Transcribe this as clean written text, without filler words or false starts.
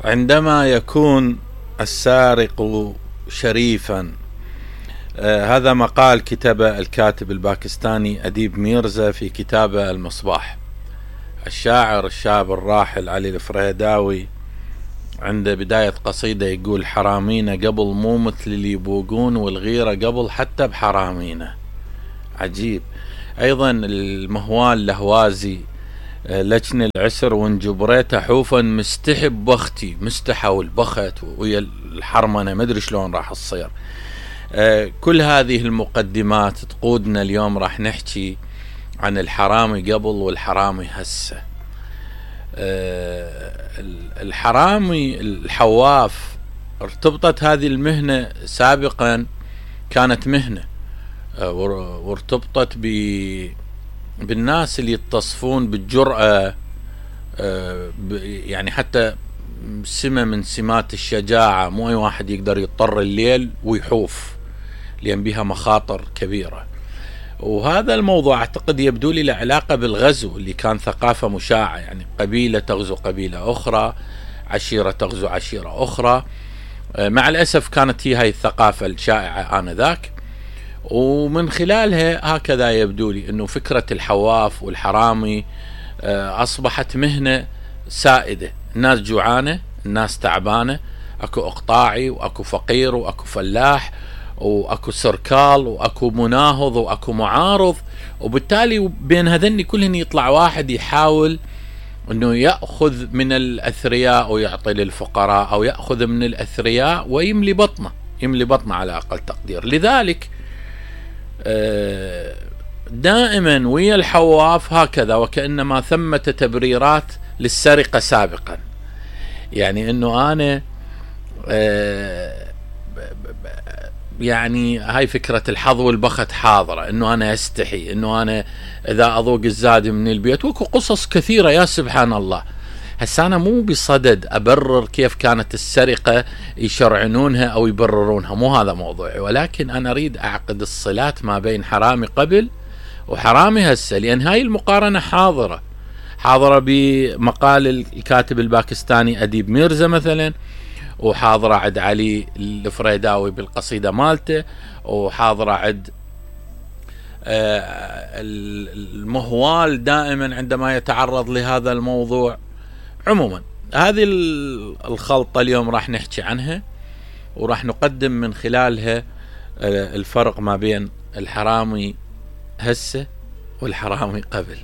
عندما يكون السارق شريفا. هذا مقال كتبه الكاتب الباكستاني أديب ميرزا في كتابه المصباح. الشاعر الشاب الراحل علي الفريداوي عند بداية قصيدة يقول: حرامينا قبل مو مثل اللي يبوقون، والغيرة قبل حتى بحرامينا. عجيب. أيضا المهوال لهوازي: لجن العسر وان جبريته حوفا مستحب بختي. مستحى والبخت ويا الحرمنة ما ادري شلون راح تصير. كل هذه المقدمات تقودنا اليوم راح نحكي عن الحرامي قبل والحرامي هسه. الحرامي الحواف ارتبطت هذه المهنة سابقا، كانت مهنة وارتبطت بالناس اللي يتصفون بالجرأة، يعني حتى سمة من سمات الشجاعة. مو أي واحد يقدر يضطر الليل ويحوف، لأن بها مخاطر كبيرة. وهذا الموضوع أعتقد يبدو لي له علاقة بالغزو اللي كان ثقافة مشاعة، يعني قبيلة تغزو قبيلة أخرى، عشيرة تغزو عشيرة أخرى. مع الأسف كانت هي هاي الثقافة الشائعة آنذاك، ومن خلالها هكذا يبدو لي أنه فكرة الحواف والحرامي أصبحت مهنة سائدة. الناس جوعانة، الناس تعبانة، أكو إقطاعي وأكو فقير وأكو فلاح وأكو سركال وأكو مناهض وأكو معارض، وبالتالي بين هذني كلهن يطلع واحد يحاول أنه يأخذ من الأثرياء ويعطي للفقراء، أو يأخذ من الأثرياء ويملي بطنه، يملي بطنه على أقل تقدير. لذلك دائما ويا الحواف هكذا، وكأنما ثمة تبريرات للسرقة سابقا. يعني أنه أنا يعني هاي فكرة الحظ والبخت حاضرة، أنه أنا أستحي، أنه أنا إذا أذوق الزاد من البيت، وكو قصص كثيرة يا سبحان الله. هسا أنا مو بصدد أبرر كيف كانت السرقة يشرعنونها أو يبررونها، مو هذا موضوعي، ولكن أنا أريد أعقد الصلات ما بين حرامي قبل وحرامي هسه، لأن هاي المقارنة حاضرة بمقال الكاتب الباكستاني أديب ميرزا مثلا، وحاضرة عند علي الفريداوي بالقصيدة مالته، وحاضرة عند المهوال دائما عندما يتعرض لهذا الموضوع. عموما هذه الخلطة اليوم راح نحكي عنها، وراح نقدم من خلالها الفرق ما بين الحرامي هسه والحرامي قبل.